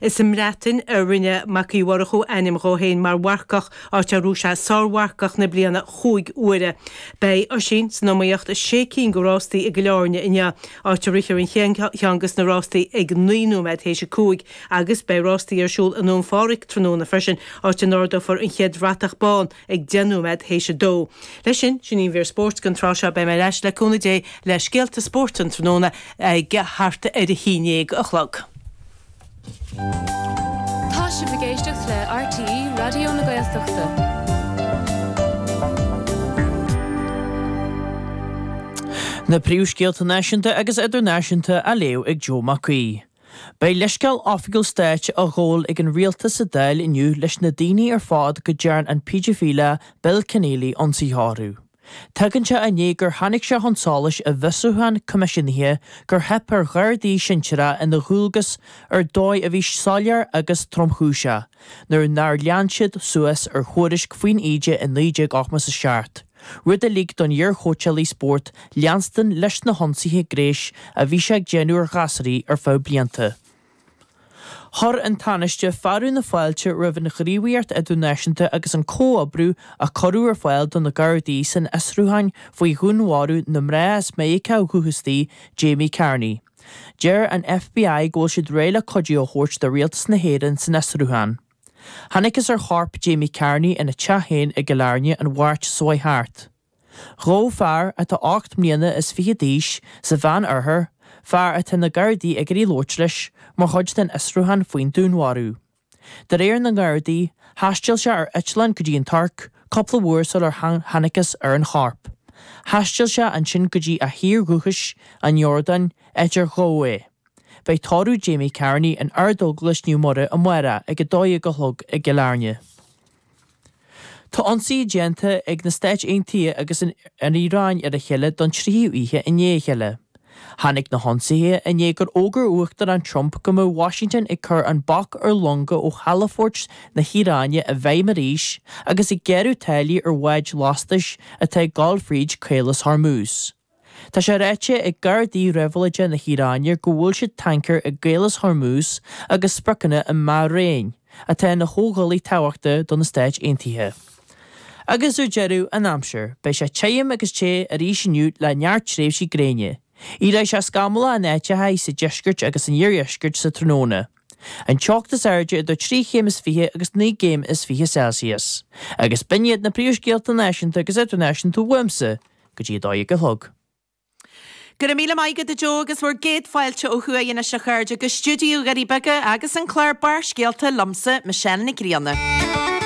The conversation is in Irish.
Is sa mBreatain a rinne Mac Uí Mhurchú ainm dhó féin mar mharcach, áit ar ghnóthaigh sé Sármharcach na Bliana chúig huaire. Beidh Oisín san iomaíocht i sé cinn de rástaí i gCill Airne inniu, áit a rithfear an chéad cheann de na rástaí ag 9 nóiméad théis a 5, agus beidh rástaí ar siúl i nDún Phádraig tráthnóna freisin, áit a n-ardófar an chéad bhratach bán ag 10 nóiméad théis a 2. Leis sin, sin í an mhír spóirt don tráth seo. Beidh mé ar ais le cúnamh Dé le scéalta spóirt an tráthnóna ag thart ar a haon dhéag a chlog. Tá sibh ag éisteacht le RTÉ Raidió na Gaeltachta. Na príomhscéalta náisiúnta agus idirnáisiúnta á léamh ag Joe Mac Aoidh. Beidh leithscéal oifigiúil stáit á ghabháil ag an rialtas sa Dáil inniu leis na daoine ar fad go dtearn an péidifileach Bill Kenneally ionsaithe orthu. Tagann sé i ndiaidh gur tháinig sé chun solais i bhfiosrúchán coimisiúnaithe gur theip ar ghardaí sinsearacha ina ndualgas ar dóigh a bhí soiléir agus tromchúiseach nuair nár lean siad suas ar thuairisc faoin íde i 1987, rud a lig don iarchóitseálaí spóirt leanstan leis na hionsaithe gnéis a bhí sé ag déanamh ar ghasúraí ar feadh blianta. Chuir an Tánaiste fearadh na fáilte roimh an ghníomhaíocht idirnáisiúnta agus an comhoibriú a cuireadh ar fáil do na Gardaí san fhiosrúchán faoi dhúnmharú na mná as Meiriceá ó dhúchas Jamie Carney. Deir an FBI go bhfuil siad réidh le cuidiú a thabhairt do Rialtas na hÉireann san fhiosrúchán. Thángthas ar chorp Jamie Carney ina teach féin i gCill Airne an Mháirt seo chuaigh thart. Gabhadh fear atá 8 mbliana is fiche d'aois sa Mheán-Oirthear, fear atá na Gardaí ag iarraidh labhairt leis, mar chuid den fhiosrúchán faoin dúnmharú. De réir na nGardaí, thaistil sé ar eitleán go dtí an Tuirc cúpla uair sular thángthas ar an chorp. Thaistil sé ansin go dtí a thír dhúchais, an Iordáin, áit ar gabhadh é. Beidh tórramh Jamie Carney in Ardeaglais Naomh Muire amárach ag 12 a chlog i gCill Airne. Tá ionsaithe déanta ag na Stáit Aontaithe agus an Iaráin ar a chéile don tríú oíche i ndiaidh a chéile. Tháinig na hionsaithe i ndiaidh gur fhógair Uachtarán Trump go mbeadh Washington ag cur an bac ar longa ó chalafoirt na hIaráine i bhfeidhm arís agus ag gearradh táillí ar bháid lastais atá ag dul fríd Caolas Hormuz. Tá sé ráite ag Gardaí Réabhlóideacha na hIaráine gur bhuail siad tancaer i gCaolas Hormuz agus spriocanna i mBairéin, atá ina chomhghuaillí tábhachtach do na Stáit Aontaithe. Agus ar deireadh, an aimsir. Beidh sé tirim agus te arís inniu le neart tréimhsí gréine. Éireoidh sé scamallach in áiteacha sa deisceart agus san iardheisceart sa tráthnóna. An teocht is airde idir trí chéim is fiche agus naoi gcéim is fiche Celsius. Agus b'in iad na príomhscéalta náisiúnta agus idirnáisiúnta uaimse. go dtí 12 a chlog. Go raibh míle maith agat a Joe agus bhur gcéad fáilte ó thuaidh anois a chairde go stiúideo Dhoirí Beaga agus an clár Barrscéalta liomsa, Michelle Nic Grianna.